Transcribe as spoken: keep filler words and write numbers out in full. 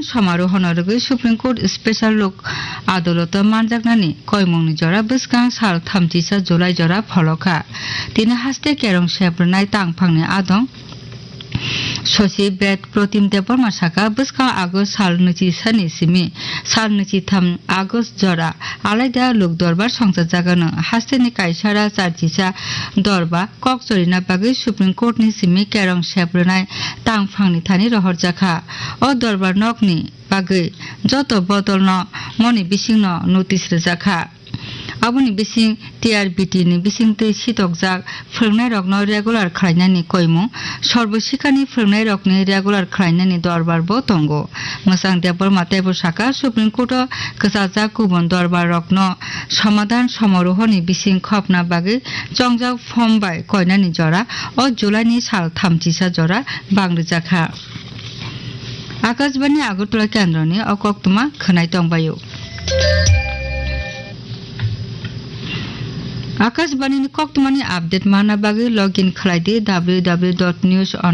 Somarohono rwgwi Supreme Court Special Lok Adoloto manjaknani koimungni jora bwskang sal thamchisa July jora pholokha. Tini haste kerong seprwnai tangphangni adong Sosi Bed Protim Debbarma saka, bwskang August sal nwichi sani simi sal nwichi tham August jora alaida lok dorbar songchajagano hasteni kaisara charchisa dorba kok chorina bagwi Supreme Court ni simi kerong seprwnai tangphangni thani rohorjakha. O dorbar nokni bagwi joto bodolno moni bisingno notice rwjakha. Aboni bising T R B T ni bisingtwi sitokjak phwrwngnairokno regular khlainani koimung, Sarbo Shikhani phwrwngnairokni regular khlainani dorbar bo tongo. Mwchang Debbarma teibo saka, Supreme Court o kwchajak kubun dorbar rokno somadhan somarohoni bising khopna bagwi chongjak form bai koinani jora o July ni sal thamchisa jora bang rwjakha. Akashbani Agartala kendroni o koktwma khwnai tongbaio. Akashbani ni koktwmani update manna bagwi login khlai di W W W dot news on